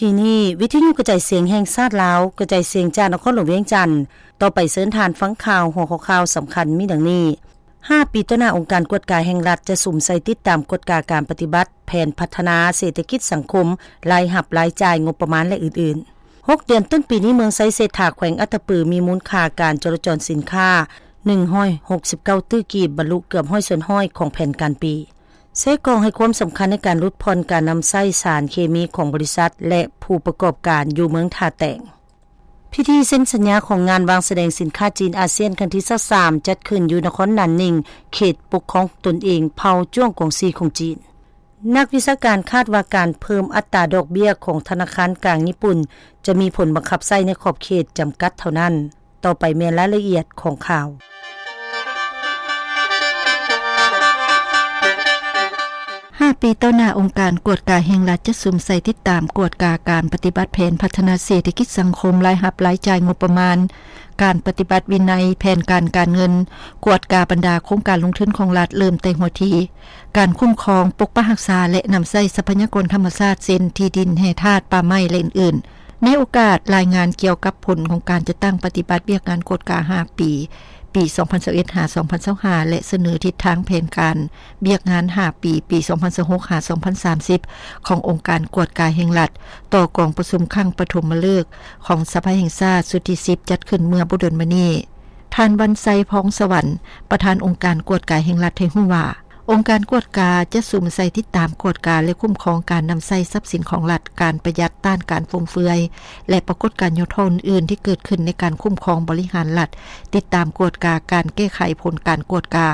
ທີ່ນີ້ ວິທະຍຸກະຈາຍສຽງແຫ່ງຊາດລາວ ກະຈາຍສຽງຈາກນະຄອນຫຼວງວຽງຈັນ. ຕໍ່ໄປເຊີນທ່ານຟັງຂ່າວ ຫົວຂໍ້ຂ່າວສຳຄັນມີດັ່ງນີ້: ຫ້າປີຕໍ່ໜ້າ ອົງການກວດກາແຫ່ງລັດຈະສຸມໃສ່ຕິດຕາມກວດກາການປະຕິບັດແຜນພັດທະນາເສດຖະກິດສັງຄົມ, ລາຍຮັບ, ລາຍຈ່າຍ, ງົບປະມານ ແລະ ອື່ນໆ. ຫົກເດືອນຕົ້ນປີນີ້ ເມືອງໄຊເສດຖາ ແຂວງອັດຕະປື ມີມູນຄ່າການຈໍລະຈອນສິນຄ້າ ໜຶ່ງຮ້ອຍຫົກສິບເກົ້າຕື້ກີບ, ບັນລຸເກືອບຮ້ອຍສ່ວນຮ້ອຍຂອງແຜນການປີ. ເຊກອງໃຫ້ຄວາມສຳຄັນໃນການຫຼຸດຜ່ອນການນຳໃຊ້ສານເຄມີຂອງບໍລິສັດ ແລະ ຜູ້ປະກອບການຢູ່ເມືອງທ່າແຕງ. ພິທີເຊັນສັນຍາຂອງງານວາງສະແດງສິນຄ້າຈີນອາຊຽນຄັ້ງທີຊາວສາມ ຈັດຂຶ້ນຢູ່ນະຄອນໜານໜິງ, ເຂດປົກຄອງຕົນເອງເຜົ່າຈວງກວາງຊີຂອງຈີນ. ນັກວິຊາການຄາດວ່າການເພີ່ມອັດຕາດອກເບ້ຍຂອງທະນາຄານກາງຍີ່ປຸ່ນ ຈະມີຜົນບັງຄັບໃຊ້ໃນຂອບເຂດຈຳກັດເທົ່ານັ້ນ. ຕໍ່ໄປແມ່ນລາຍລະອຽດຂອງຂ່າວ. ຫ້າປີຕໍ່ໜ້າ ອົງການກວດກາແຫ່ງລັດຈະສຸມໃສ່ຕິດຕາມກວດກາການປະຕິບັດແຜນພັດທະນາເສດຖະກິດສັງຄົມ, ລາຍຮັບ, ລາຍຈ່າຍ, ງົບປະມານ, ການປະຕິບັດວິໄນ, ແຜນການການເງິນ, ກວດກາບັນດາໂຄງການລົງທຶນຂອງລັດ ເລີ່ມແຕ່ຫົວທີ ການຄຸ້ມຄອງ, ປົກປັກຮັກສາ ແລະ ນຳໃຊ້ຊັບພະຍາກອນທຳມະຊາດ ເຊັ່ນ ທີ່ດິນ, ແຮ່ທາດ, ປ່າໄມ້ ແລະ ອື່ນໆ. ໃນໂອກາດລາຍງານກ່ຽວກັບຜົນຂອງການຈັດຕັ້ງປະຕິບັດວຽກງານກວດກາຫ້າປີ ປີສອງພັນຊາວເອັດ ຫາ ສອງພັນຊາວຫ້າ ແລະ ສະເໜີທິດທາງແຜນການວຽກງານຫ້າປີ ປີສອງພັນຊາວຫົກ ຫາ ສອງພັນສາມສິບ ຂອງອົງການກວດກາແຫ່ງລັດ ຕໍ່ກອງປະຊຸມຄັ້ງປະຖົມມະເລີກຂອງສະພາແຫ່ງຊາດຊຸດທີສິບ ຈັດຂຶ້ນເມື່ອບໍ່ດົນມານີ້. ທ່ານ ວັນໄຊ ພອງສະຫວັນ ປະທານອົງການກວດກາແຫ່ງລັດ ໃຫ້ຮູ້ວ່າ ອົງການກວດກາຈະສຸມໃສ່ຕິດຕາມກວດກາ ແລະ ຄຸ້ມຄອງການນຳໃຊ້ຊັບສິນຂອງລັດ, ການປະຢັດ, ຕ້ານການຟຸມເຟືອຍ ແລະ ປາກົດການຫຍໍ້ທໍ້ອື່ນໆ ທີ່ເກີດຂຶ້ນໃນການຄຸ້ມຄອງບໍລິຫານລັດ, ຕິດຕາມກວດກາການແກ້ໄຂຜົນການກວດກາ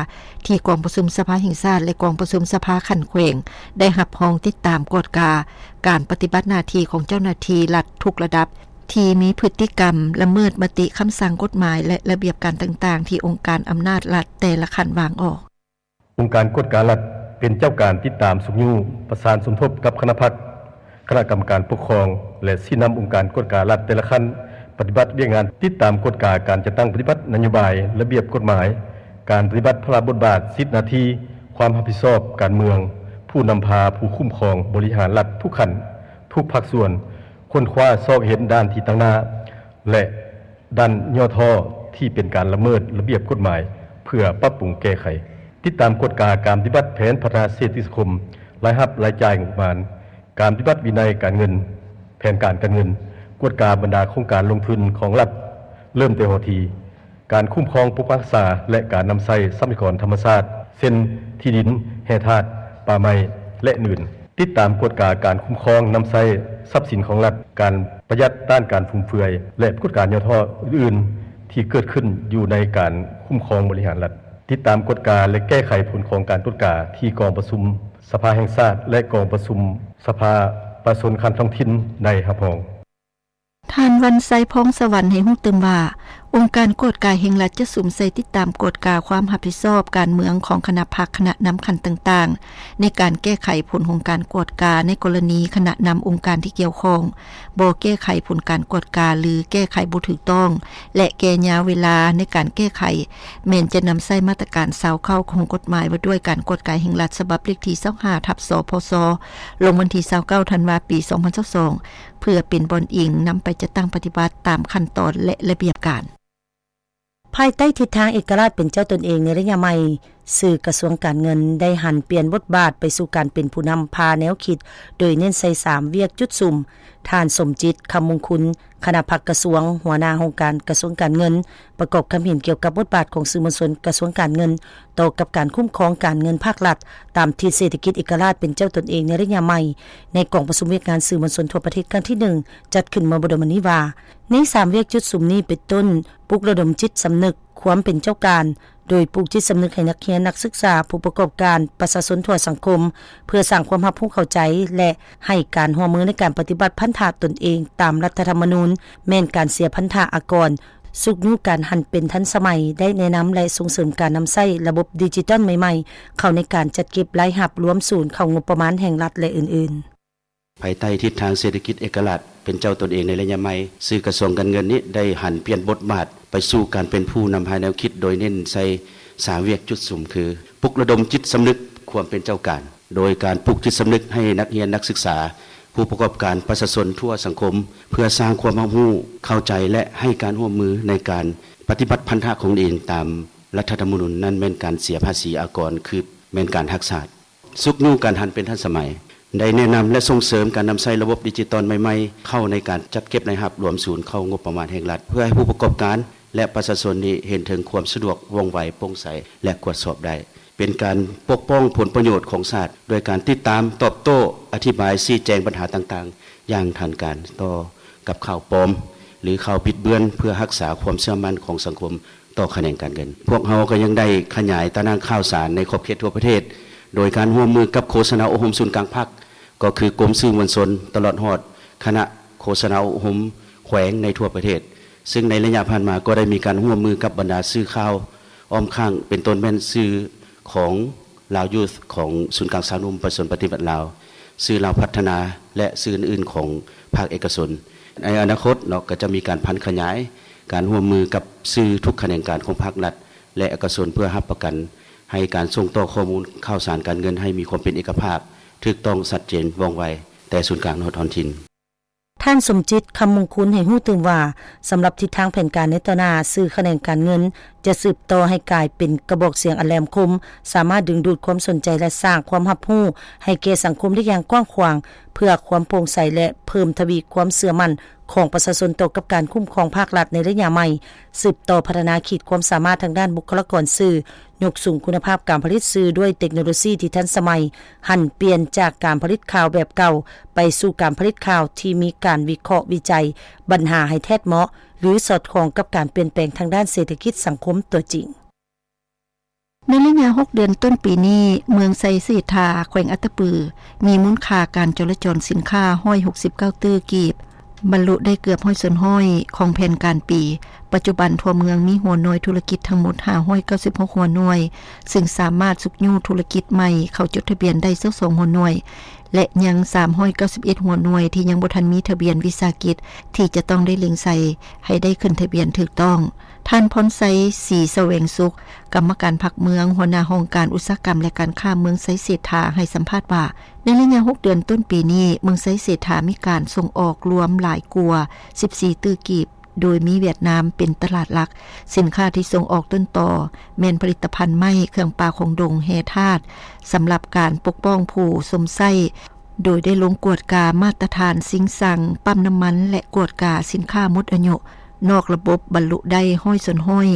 ທີ່ກອງປະຊຸມສະພາແຫ່ງຊາດ ແລະ ກອງປະຊຸມສະພາຂັ້ນແຂວງ ໄດ້ຮັບຮອງຕິດຕາມກວດກາການປະຕິບັດໜ້າທີ່ຂອງເຈົ້າໜ້າທີ່ລັດທຸກລະດັບ ທີ່ມີພຶດຕິກຳລະເມີດມະຕິ, ຄຳສັ່ງ, ກົດໝາຍ ແລະ ລະບຽບການຕ່າງໆ ທີ່ອົງການອຳນາດລັດແຕ່ລະຂັ້ນວາງອອກ. ອົງການກວດກາລັດເປັນເຈົ້າການຕິດຕາມຊຸກຍູ້, ປະສານສົມທົບກັບຄະນະພັກ, ຄະນະກຳມະການປົກຄອງ ແລະ ຊີ້ນຳອົງການກວດກາລັດແຕ່ລະຂັ້ນປະຕິບັດວຽກງານຕິດຕາມກວດກາການຈັດຕັ້ງປະຕິບັດນະໂຍບາຍ, ລະບຽບກົດໝາຍ, ການປະຕິບັດພາລະບົດບາດ, ສິດໜ້າທີ່, ຄວາມຮັບຜິດຊອບການເມືອງ, ຜູ້ນຳພາ, ຜູ້ຄຸ້ມຄອງບໍລິຫານລັດທຸກຂັ້ນ, ທຸກພາກສ່ວນ, ຄົ້ນຄວ້າຊອກເຫັນດ້ານທີ່ຕັ້ງໜ້າ ແລະ ດ້ານຫຍໍ້ທໍ້ທີ່ເປັນການລະເມີດລະບຽບກົດໝາຍ ເພື່ອປັບປຸງແກ້ໄຂ. ຕິດຕາມກວດກາການປະຕິບັດແຜນພັດທະນາເສດຖະກິດສັງຄົມ, ລາຍຮັບ, ລາຍຈ່າຍ, ງົບປະມານ, ການປະຕິບັດວິໄນການເງິນ, ແຜນການການເງິນ, ກວດກາບັນດາໂຄງການລົງທຶນຂອງລັດ ເລີ່ມແຕ່ຫົວທີ, ການຄຸ້ມຄອງປົກປັກຮັກສາ ແລະ ການນຳໃຊ້ຊັບພະຍາກອນທຳມະຊາດ ເຊັ່ນ ທີ່ດິນ, ແຮ່ທາດ, ປ່າໄມ້ ແລະ ອື່ນ. ຕິດຕາມກວດກາການຄຸ້ມຄອງນຳໃຊ້ຊັບສິນຂອງລັດ, ການປະຢັດ, ຕ້ານການຟຸມເຟືອຍ ແລະ ກວດກາຫຍໍ້ທໍ້ອື່ນໆ ທີ່ເກີດຂຶ້ນຢູ່ໃນການຄຸ້ມຄອງບໍລິຫານລັດ. ຕິດຕາມກວດກາ ແລະ ແກ້ໄຂຜົນຂອງການກວດກາທີ່ກອງປະຊຸມສະພາແຫ່ງຊາດ ແລະ ກອງປະຊຸມສະພາປະຊາຊົນຂັ້ນທ້ອງຖິ່ນໄດ້ຮັບຮອງ. ທ່ານ ວັນໄຊ ພອງສະຫວັນ ໃຫ້ຮູ້ຕື່ມວ່າ ອົງການກວດກາແຫ່ງລັດຈະສຸມໃສ່ຕິດຕາມກວດກາຄວາມຮັບຜິດຊອບການເມືອງຂອງຄະນະພັກ, ຄະນະນຳຂັ້ນຕ່າງໆ ໃນການແກ້ໄຂຜົນຂອງການກວດກາ ໃນກໍລະນີຄະນະນຳອົງການທີ່ກ່ຽວຂ້ອງບໍ່ແກ້ໄຂຜົນການກວດກາ ຫຼື ແກ້ໄຂບໍ່ຖືກຕ້ອງ ແລະ ແກ່ຍາວເວລາໃນການແກ້ໄຂ ແມ່ນຈະນຳໃຊ້ມາດຕະການຊາວເກົ້າຂອງກົດໝາຍວ່າດ້ວຍການກວດກາແຫ່ງລັດ ສະບັບເລກທີຊາວຫ້າ ທັບ ສພສ ລົງວັນທີຊາວເກົ້າ ທັນວາ ປີສອງພັນຊາວສອງ ເພື່ອເປັນບ່ອນອີງນຳໄປຈັດຕັ້ງປະຕິບັດຕາມຂັ້ນຕອນ ແລະ ລະບຽບການ. ພາຍໃຕ້ທິດທາງເອກະລາດເປັນເຈົ້າຕົນເອງໃນໄລຍະໃໝ່, ສື່ກະຊວງການເງິນໄດ້ຫັນປ່ຽນບົດບາດໄປສູ່ການເປັນຜູ້ນຳພາແນວຄິດ, ໂດຍເນັ້ນໃສ່ສາມວຽກຈຸດສຸມ. ທ່ານ ສົມຈິດ ຄຳມຸງຄຸນ ຄະນະພັກກະຊວງ, ຫົວໜ້າຫ້ອງການກະຊວງການເງິນ, ປະກອບຄຳເຫັນກ່ຽວກັບບົດບາດຂອງສື່ມວນຊົນກະຊວງການເງິນ ຕໍ່ກັບການຄຸ້ມຄອງການເງິນພາກລັດ ຕາມທິດເສດຖະກິດເອກະລາດເປັນເຈົ້າຕົນເອງໃນໄລຍະໃໝ່ ໃນກອງປະຊຸມວຽກງານສື່ມວນຊົນທົ່ວປະເທດຄັ້ງທີໜຶ່ງ ຈັດຂຶ້ນເມື່ອບໍ່ດົນມານີ້ວ່າ ໃນສາມວຽກຈຸດສຸມນີ້ເປັນຕົ້ນ ປຸກລະດົມຈິດສຳນຶກຄວາມເປັນເຈົ້າການ ໂດຍປູກຈິດສຳນຶກໃຫ້ນັກຮຽນ, ນັກສຶກສາ, ຜູ້ປະກອບການ, ປະຊາຊົນທົ່ວສັງຄົມ ເພື່ອສ້າງຄວາມຮັບຮູ້ເຂົ້າໃຈ ແລະ ໃຫ້ການຮ່ວມມືໃນການປະຕິບັດພັນທະຕົນເອງຕາມລັດຖະທຳມະນູນ ແມ່ນການເສຍພັນທະອາກອນ, ຊຸກຍູ້ການຫັນເປັນທັນສະໄໝ, ໄດ້ແນະນຳ ແລະ ສົ່ງເສີມການນຳໃຊ້ລະບົບດິຈິຕອນໃໝ່ໆ ເຂົ້າໃນການຈັດເກັບລາຍຮັບລວມສູນເຂົ້າງົບປະມານແຫ່ງລັດ ແລະ ອື່ນໆ. ພາຍໃຕ້ທິດທາງເສດຖະກິດເອກະລາດເປັນເຈົ້າຕົນເອງໃນໄລຍະໃໝ່, ສື່ກະຊວງການເງິນນີ້ໄດ້ຫັນປ່ຽນບົດບາດໄປສູ່ການເປັນຜູ້ນຳພາແນວຄິດ ໂດຍເນັ້ນໃສ່ສາມວຽກຈຸດສຸມ ຄື ປຸກລະດົມຈິດສຳນຶກຄວາມເປັນເຈົ້າການ ໂດຍການປູກຈິດສຳນຶກໃຫ້ນັກຮຽນ, ນັກສຶກສາ, ຜູ້ປະກອບການ, ປະຊາຊົນທົ່ວສັງຄົມ ເພື່ອສ້າງຄວາມຮັບຮູ້, ເຂົ້າໃຈ ແລະ ໃຫ້ການຮ່ວມມືໃນການປະຕິບັດພັນທະຂອງຕົນເອງຕາມລັດຖະທຳມະນູນ, ນັ້ນແມ່ນການເສຍພາສີອາກອນ ຄືແມ່ນການຮັກຊາດ. ຊຸກຍູ້ການຫັນເປັນທັນສະໄໝ, ໄດ້ແນະນຳ ແລະ ສົ່ງເສີມການນຳໃຊ້ລະບົບດິຈິຕອນໃໝ່ໆ ເຂົ້າໃນການຈັດເກັບລາຍຮັບລວມສູນເຂົ້າງົບປະມານແຫ່ງລັດ ເພື່ອໃຫ້ຜູ້ປະກອບການ ແລະ ປະຊາຊົນນີ້ເຫັນເຖິງຄວາມສະດວກ, ວ່ອງໄວ, ໂປ່ງໃສ ແລະ ກວດສອບໄດ້. ເປັນການປົກປ້ອງຜົນປະໂຫຍດຂອງຊາດ ໂດຍການຕິດຕາມ, ຕອບໂຕ້, ອະທິບາຍ, ຊີ້ແຈງບັນຫາຕ່າງໆ ຢ່າງທັນການຕໍ່ກັບຂ່າວປອມ ຫຼື ຂ່າວບິດເບືອນ ເພື່ອຮັກສາຄວາມເຊື່ອໝັ້ນຂອງສັງຄົມຕໍ່ຂະແໜງການເງິນ. ພວກເຮົາກໍຍັງໄດ້ຂະຫຍາຍຕາໜ່າງຂ່າວສານໃນຂອບເຂດທົ່ວປະເທດ ໂດຍການຮ່ວມມືກັບໂຄສະນາອົບຮົມສູນກາງພັກ ກໍຄືກົມສື່ມວນຊົນ ຕະຫຼອດຮອດຄະນະໂຄສະນາອົບຮົມແຂວງໃນທົ່ວປະເທດ, ຊຶ່ງໃນໄລຍະຜ່ານມາກໍໄດ້ມີການຮ່ວມມືກັບບັນດາສື່ຂ່າວອ້ອມຂ້າງ ເປັນຕົ້ນແມ່ນສື່ຂອງ ລາວຢູດ ຂອງສູນກາງຊາວໜຸ່ມປະຊາຊົນປະຕິວັດລາວ, ສື່ລາວພັດທະນາ ແລະ ສື່ອື່ນໆຂອງພາກເອກະຊົນ. ໃນອະນາຄົດເນາະ ກໍຈະມີການຜັນຂະຫຍາຍການຮ່ວມມືກັບສື່ທຸກຂະແໜງການຂອງພາກລັດ ແລະ ເອກະຊົນ ເພື່ອຮັບປະກັນໃຫ້ການສົ່ງຕໍ່ຂໍ້ມູນຂ່າວສານການເງິນໃຫ້ມີຄວາມເປັນເອກະພາບ, ຖືກຕ້ອງ, ຊັດເຈນ, ວ່ອງໄວ ແຕ່ສູນກາງຮອດທ້ອງຖິ່ນ. ທ່ານ ສົມຈິດ ຄຳມົງຄຸນ ໃຫ້ຮູ້ຕື່ມວ່າ ສຳລັບທິດທາງແຜນການໃນຕໍ່ໜ້າ, ສື່ຂະແໜງການເງິນຈະສືບຕໍ່ໃຫ້ກາຍເປັນກະບອກສຽງອັນແຫຼມຄົມ, ສາມາດດຶງດູດຄວາມສົນໃຈ ແລະ ສ້າງຄວາມຮັບຮູ້ໃຫ້ແກ່ສັງຄົມໄດ້ຢ່າງກວ້າງຂວາງ ເພື່ອຄວາມໂປ່ງໃສ ແລະ ເພີ່ມທະວີຄວາມເຊື່ອໝັ້ນຂອງປະຊາຊົນຕໍ່ກັບການຄຸ້ມຄອງພາກລັດໃນໄລຍະໃໝ່, ສືບຕໍ່ພັດທະນາຂີດຄວາມສາມາດທາງດ້ານບຸກຄະລາກອນສື່, ຍົກສູງຄຸນນະພາບການຜະລິດສື່ດ້ວຍເຕັກໂນໂລຊີທີ່ທັນສະໄໝ, ຫັນປ່ຽນຈາກການຜະລິດຂ່າວແບບເກົ່າໄປສູ່ການຜະລິດຂ່າວທີ່ມີການວິເຄາະວິໄຈບັນຫາໃຫ້ແທດເໝາະ ຫຼື ສອດຄ່ອງກັບການປ່ຽນແປງທາງດ້ານເສດຖະກິດສັງຄົມຕົວຈິງ. ໃນໄລຍະຫົກເດືອນຕົ້ນປີນີ້, ເມືອງໄຊເສດຖາ ແຂວງອັດຕະປື ມີມູນຄ່າການຈໍລະຈອນສິນຄ້າຮ້ອຍຫົກສິບເກົ້າຕື້ກີບ, ບັນລຸໄດ້ເກືອບຮ້ອຍສ່ວນຮ້ອຍຂອງແຜນການປີ. ປັດຈຸບັນທົ່ວເມືອງມີຫົວໜ່ວຍທຸລະກິດທັງໝົດຫ້າຮ້ອຍເກົ້າສິບຫົກຫົວໜ່ວຍ, ຊຶ່ງສາມາດຊຸກຍູ້ທຸລະກິດໃໝ່ເຂົ້າຈົດທະບຽນໄດ້ຊາວສອງຫົວໜ່ວຍ ແລະ ຍັງສາມຮ້ອຍເກົ້າສິບເອັດຫົວໜ່ວຍທີ່ຍັງບໍ່ທັນມີທະບຽນວິສາຫະກິດ ທີ່ຈະຕ້ອງໄດ້ເລັ່ງໃສ່ໃຫ້ໄດ້ຂຶ້ນທະບຽນຖືກຕ້ອງ. ທ່ານ ພອນໄຊ ສີສະແຫວງສຸກ, ກຳມະການພັກເມືອງ, ຫົວໜ້າຫ້ອງການອຸດສາຫະກຳ ແລະ ການຄ້າເມືອງໄຊເສດຖາ ໃຫ້ສຳພາດວ່າ, ໃນໄລຍະຫົກເດືອນຕົ້ນປີນີ້, ເມືອງໄຊເສດຖາມີການສົ່ງອອກລວມຫຼາຍກວ່າສິບສີ່ຕື້ກີບ, ໂດຍມີຫວຽດນາມເປັນຕະຫຼາດຫຼັກ. ສິນຄ້າທີ່ສົ່ງອອກຕົ້ນຕໍແມ່ນຜະລິດຕະພັນໄມ້, ເຄື່ອງປ່າຂອງດົງ, ແຮ່ທາດ ສຳລັບການປົກປ້ອງຜູ້ຊົມໃຊ້, ໂດຍໄດ້ລົງກວດກາມາດຕະຖານຊິງຊັງ, ປ້ຳນ້ຳມັນ ແລະ ກວດກາສິນຄ້າໝົດອາຍຸ ນອກລະບົບບັນລຸໄດ້ຮ້ອຍສ່ວນຮ້ອຍ.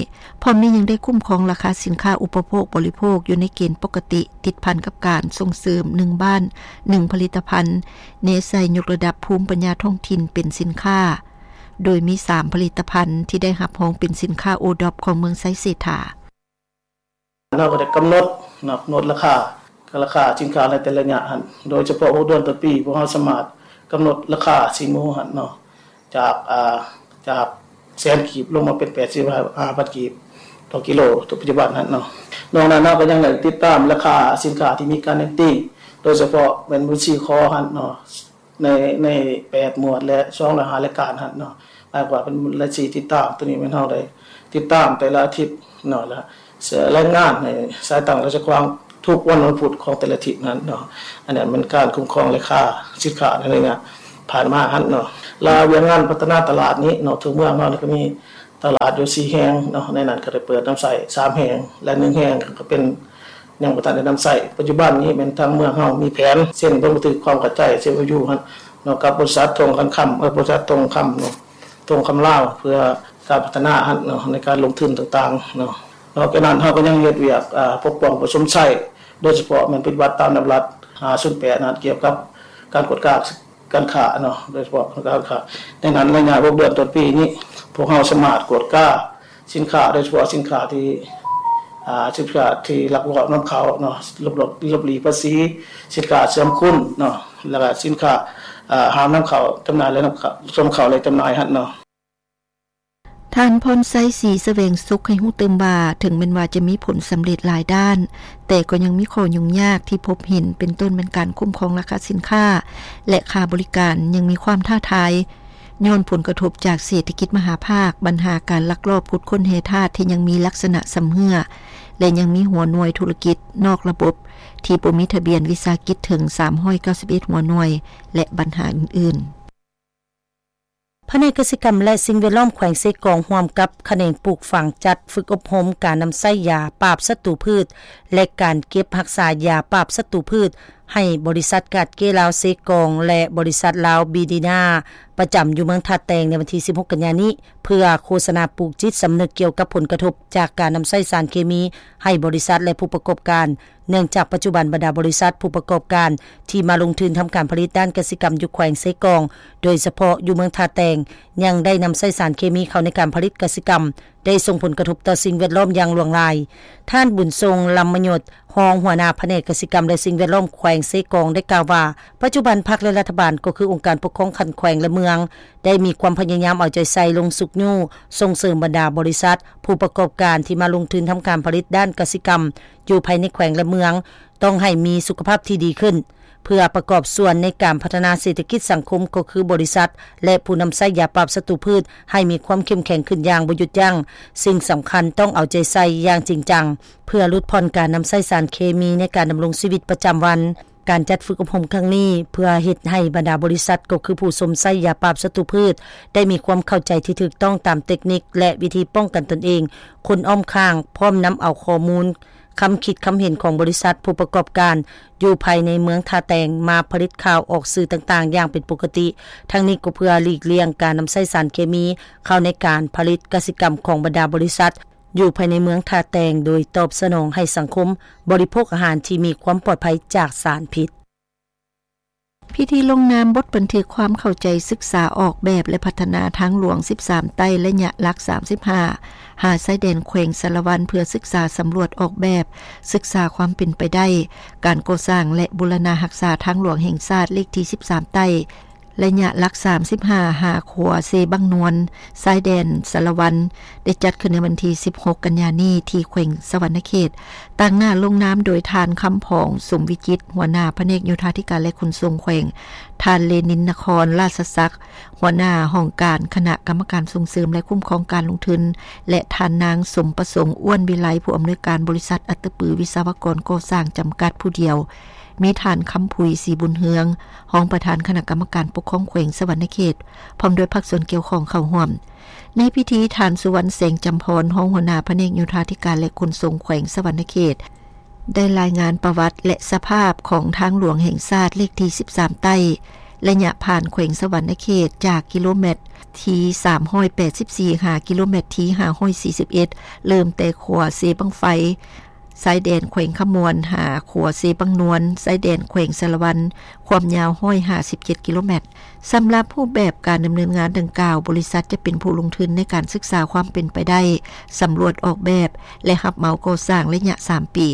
ພ້ອມນີ້ຍັງໄດ້ຄຸ້ມຄອງລາຄາສິນຄ້າອຸປະໂພກບໍລິໂພກຢູ່ໃນເກນປົກກະຕິ, ຕິດພັນກັບການສົ່ງເສີມໜຶ່ງບ້ານໜຶ່ງຜະລິດຕະພັນ, ແນໃສ່ຍົກລະດັບພູມປັນຍາທ້ອງຖິ່ນເປັນສິນຄ້າ, ໂດຍມີສາມຜະລິດຕະພັນທີ່ໄດ້ຮັບຮອງເປັນສິນຄ້າໂອດອບຂອງເມືອງໄຊເສດຖາ. ເຮົາກໍໄດ້ກຳນົດເນາະ ກຳນົດລາຄາ ລາຄາສິນຄ້າໃນແຕ່ລະໄລຍະຫັ້ນ ໂດຍສະເພາະຫົກເດືອນຕໍ່ປີ ພວກເຮົາສາມາດກຳນົດລາຄາຊີ້ນໝູຫັ້ນເນາະ ຈາກ ອ່າ ຈາກແສນກີບ ລົງມາເປັນແປດສິບຫ້າພັນກີບຕໍ່ກິໂລ ປັດຈຸບັນຫັ້ນເນາະ. ນອກນັ້ນເຮົາກໍຍັງໄດ້ຕິດຕາມລາຄາສິນຄ້າທີ່ມີການເນັ້ນຕີງ ໂດຍສະເພາະແມ່ນມື້ຊີ້ຄໍຫັ້ນເນາະ ໃນ ໃນແປດໝວດ ແລະ ສອງຮ້ອຍຫ້າລາຍການຫັ້ນເນາະ. ໝາຍຄວາມວ່າເປັນລາຍຊື່ຕິດຕາມ ໂຕນີ້ແມ່ນເຮົາໄດ້ຕິດຕາມແຕ່ລະອາທິດເນາະ ແລະ ລາຍງານໃຫ້ສາຍຕັ້ງລາຊະກວາງທຸກວັນວັນພຸດຂອງແຕ່ລະອາທິດນັ້ນເນາະ. ອັນນັ້ນແມ່ນການຄຸ້ມຄອງລາຄາສິນຄ້າໃນໄລຍະຜ່ານມາຫັ້ນເນາະ. ລະວຽກງານພັດທະນາຕະຫຼາດນີ້ເນາະ ທົ່ວເມືອງເຮົານີ້ກໍມີຕະຫຼາດຢູ່ສີ່ແຫ່ງເນາະ ໃນນັ້ນກໍໄດ້ເປີດນຳໃຊ້ສາມແຫ່ງ ແລະ ໜຶ່ງແຫ່ງກໍເປັນ ຍັງບໍ່ທັນໄດ້ນຳໃຊ້. ປັດຈຸບັນນີ້ແມ່ນທາງເມືອງເຮົາມີແຜນເຊັນບັນທຶກຄວາມເຂົ້າໃຈ ເຊັນ ເອັມ ໂອ ຢູ ຫັ້ນເນາະ ກັບບໍລິສັດທົງຄຳ ເອີ ບໍລິສັດທົງຄຳເນາະ ທົງຄຳລາວ ເພື່ອການພັດທະນາຫັ້ນເນາະ ໃນການລົງທຶນຕ່າງໆເນາະ. ນອກຈາກນັ້ນເຮົາກໍຍັງເຮັດວຽກ ອາ ປົກປ້ອງຜູ້ຊົມໃຊ້ ໂດຍສະເພາະແມ່ນປະຕິບັດຕາມດຳລັດຫ້າສູນແປດນັ້ນ ກ່ຽວກັບການກວດກາ ການຄ້າເນາະ ໂດຍສະເພາະການຄ້າ. ໃນນັ້ນໄລຍະຫົກເດືອນຕົ້ນປີນີ້ ພວກເຮົາສາມາດກວດກາສິນຄ້າ ໂດຍສະເພາະສິນຄ້າທີ່ ອາ ສິນຄ້າທີ່ລັກລອບນຳເຂົ້າເນາະ ຫຼົບ ຫຼົບ ຫຼົບຫຼີກພາສີ, ສິນຄ້າເຊື່ອມຄຸນເນາະ ແລ້ວກະສິນຄ້າ ອາ ຫ້າມນຳເຂົ້າຈຳໜ່າຍ ແລະ ນຳເຂົ້າ ນຳເຂົ້າ ແລະ ຈຳໜ່າຍຫັ້ນເນາະ. ທ່ານ ພອນໄຊ ສີສະແຫວງສຸກ ໃຫ້ຮູ້ຕື່ມວ່າ ເຖິງແມ່ນວ່າຈະມີຜົນສຳເລັດຫຼາຍດ້ານ, ແຕ່ກໍຍັງມີຂໍ້ຫຍຸ້ງຍາກທີ່ພົບເຫັນ ເປັນຕົ້ນແມ່ນການຄຸ້ມຄອງລາຄາສິນຄ້າ ແລະ ຄ່າບໍລິການຍັງມີຄວາມທ້າທາຍ ຍ້ອນຜົນກະທົບຈາກເສດຖະກິດມະຫາພາກ, ບັນຫາການລັກລອບຂຸດຄົ້ນແຮ່ທາດທີ່ຍັງມີລັກສະນະຊຳເຮື້ອ, ແລະ ຍັງມີຫົວໜ່ວຍທຸລະກິດນອກລະບົບທີ່ບໍ່ມີທະບຽນວິສາຫະກິດເຖິງສາມຮ້ອຍເກົ້າສິບເອັດຫົວໜ່ວຍ ແລະ ບັນຫາອື່ນໆ. ພະແນກກະສິກຳ ແລະ ສິ່ງແວດລ້ອມແຂວງເຊກອງ ຮ່ວມກັບຂະແໜງປູກຝັງ ຈັດຝຶກອົບຮົມການນຳໃຊ້ຢາປາບສັດຕູພືດ ແລະ ການເກັບຮັກສາຢາປາບສັດຕູພືດ ໃຫ້ບໍລິສັດກາດເກລາວເຊກອງ ແລະ ບໍລິສັດລາວບີດີນາ ປະຈຳຢູ່ເມືອງທ່າແຕງ ໃນວັນທີສິບຫົກກັນຍານີ້ ເພື່ອໂຄສະນາປູກຈິດສຳນຶກກ່ຽວກັບຜົນກະທົບຈາກການນຳໃຊ້ສານເຄມີໃຫ້ບໍລິສັດ ແລະ ຜູ້ປະກອບການ ເນື່ອງຈາກປັດຈຸບັນບັນດາບໍລິສັດຜູ້ປະກອບການທີ່ມາລົງທຶນທຳການຜະລິດດ້ານກະສິກຳຢູ່ແຂວງເຊກອງ ໂດຍສະເພາະຢູ່ເມືອງທ່າແຕງ ຍັງໄດ້ນຳໃຊ້ສານເຄມີເຂົ້າໃນການຜະລິດກະສິກຳ ໄດ້ສົ່ງຜົນກະທົບຕໍ່ສິ່ງແວດລ້ອມຢ່າງຫຼວງຫຼາຍ. ທ່ານ ບຸນຊົງ ລຳມະຍົດ ຮອງຫົວໜ້າພະແນກກະສິກຳ ແລະ ສິ່ງແວດລ້ອມແຂວງເຊກອງ ໄດ້ກ່າວວ່າ ປັດຈຸບັນພັກ ແລະ ລັດຖະບານ ກໍຄືອົງການປົກຄອງຂັ້ນແຂວງ ແລະ ເມືອງ ໄດ້ມີຄວາມພະຍາຍາມເອົາໃຈໃສ່ລົງຊຸກຍູ້ສົ່ງເສີມບັນດາບໍລິສັດ ຜູ້ປະກອບການທີ່ມາລົງທຶນທຳການຜະລິດດ້ານກະສິກຳ ຢູ່ພາຍໃນແຂວງ ແລະ ເມືອງ ຕ້ອງໃຫ້ມີສຸຂະພາບທີ່ດີຂຶ້ນ ເພື່ອປະກອບສ່ວນໃນການພັດທະນາເສດຖະກິດສັງຄົມ ກໍຄືບໍລິສັດ ແລະ ຜູ້ນຳໃຊ້ຢາປາບສັດຕູພືດ ໃຫ້ມີຄວາມເຂັ້ມແຂງຂຶ້ນຢ່າງບໍ່ຢຸດຢັ້ງ. ສິ່ງສຳຄັນຕ້ອງເອົາໃຈໃສ່ຢ່າງຈິງຈັງ ເພື່ອຫຼຸດຜ່ອນການນຳໃຊ້ສານເຄມີໃນການດຳລົງຊີວິດປະຈຳວັນ. ການຈັດຝຶກອົບຮົມຄັ້ງນີ້ ເພື່ອເຮັດໃຫ້ບັນດາບໍລິສັດ ກໍຄືຜູ້ຊົມໃຊ້ຢາປາບສັດຕູພືດ ໄດ້ມີຄວາມເຂົ້າໃຈທີ່ຖືກຕ້ອງຕາມເຕັກນິກ ແລະ ວິທີປ້ອງກັນຕົນເອງ, ຄົນອ້ອມຂ້າງ, ພ້ອມນຳເອົາຂໍ້ມູນ, ຄຳຄິດຄຳເຫັນຂອງບໍລິສັດຜູ້ປະກອບການຢູ່ພາຍໃນເມືອງທ່າແຕງ ມາຜະລິດຂ່າວອອກສື່ຕ່າງໆຢ່າງເປັນປົກກະຕິ. ທັງນີ້ກໍເພື່ອຫຼີກລ່ຽງການນຳໃຊ້ສານເຄມີເຂົ້າໃນການຜະລິດກະສິກຳຂອງບັນດາບໍລິສັດ ຢູ່ພາຍໃນເມືອງທ່າແຕງ ໂດຍຕອບສະໜອງໃຫ້ສັງຄົມບໍລິໂພກອາຫານທີ່ມີຄວາມປອດໄພຈາກສານພິດ. ພິທີລົງນາມບົດບັນທຶກຄວາມເຂົ້າໃຈສຶກສາອອກແບບ ແລະ ພັດທະນາທາງຫຼວງສິບສາມໃຕ້ ໄລຍະຫຼັກສາມສິບຫ້າ ຫາຊາຍແດນແຂວງສາລະວັນ ເພື່ອສຶກສາສຳຫຼວດອອກແບບ, ສຶກສາຄວາມເປັນໄປໄດ້ ການກໍ່ສ້າງ ແລະ ບູລະນະຮັກສາທາງຫຼວງແຫ່ງຊາດເລກທີສິບສາມໃຕ້ ໄລຍະຫຼັກສາມສິບຫ້າ ຫາຂົວເຊບັ້ງນວນ ຊາຍແດນສາລະວັນ ໄດ້ຈັດຂຶ້ນໃນວັນທີສິບຫົກກັນຍານີ້ ທີ່ແຂວງສະຫວັນນະເຂດ. ຕາງໜ້າລົງນາມໂດຍທ່ານ ຄຳຜອງ ສົມວິຈິດ ຫົວໜ້າພະແນກໂຍທາທິການ ແລະ ຂົນສົ່ງແຂວງ, ທ່ານ ເລນິນ ນະຄອນລາຊະສັກ ຫົວໜ້າຫ້ອງການຄະນະກຳມະການສົ່ງເສີມ ແລະ ຄຸ້ມຄອງການລົງທຶນ ແລະ ທ່ານນາງ ສົມປະສົງ ອ້ວນວິໄລ ຜູ້ອຳນວຍການບໍລິສັດອັດຕະປືວິສະວະກອນກໍ່ສ້າງຈຳກັດຜູ້ດຽວ. ມີທ່ານ ຄຳຜຸຍ ສີບຸນເຮືອງ ຮອງປະທານຄະນະກຳມະການປົກຄອງແຂວງສະຫວັນນະເຂດ ພ້ອມດ້ວຍພາກສ່ວນກ່ຽວຂ້ອງເຂົ້າຮ່ວມ. ໃນພິທີ ທ່ານ ສຸວັນ ແສງຈຳພອນ ຮອງຫົວໜ້າພະແນກໂຍທາທິການ ແລະ ຂົນສົ່ງແຂວງສະຫວັນນະເຂດ ໄດ້ລາຍງານປະຫວັດ ແລະ ສະພາບຂອງທາງຫຼວງແຫ່ງຊາດເລກທີສິບສາມໃຕ້ ໄລຍະຜ່ານແຂວງສະຫວັນນະເຂດ ຈາກກິໂລແມັດທີສາມຮ້ອຍແປດສິບສີ່ ຫາກິໂລແມັດທີຫ້າຮ້ອຍສີ່ສິບເອັດ ເລີ່ມແຕ່ຂົວເຊບັ້ງໄຟ ຊາຍແດນແຂວງຄຳມ່ວນ ຫາຂົວເຊບັ້ງນວນ ຊາຍແດນແຂວງສາລະວັນ ຄວາມຍາວຮ້ອຍຫ້າສິບເຈັດກິໂລແມັດ. ສຳລັບຮູບແບບການດຳເນີນງານດັ່ງກ່າວ, ບໍລິສັດຈະເປັນຜູ້ລົງທຶນໃນການສຶກສາຄວາມເປັນໄປໄດ້, ສຳຫຼວດອອກແບບ ແລະ ຮັບເໝົາກໍ່ສ້າງໄລຍະສາມປີ,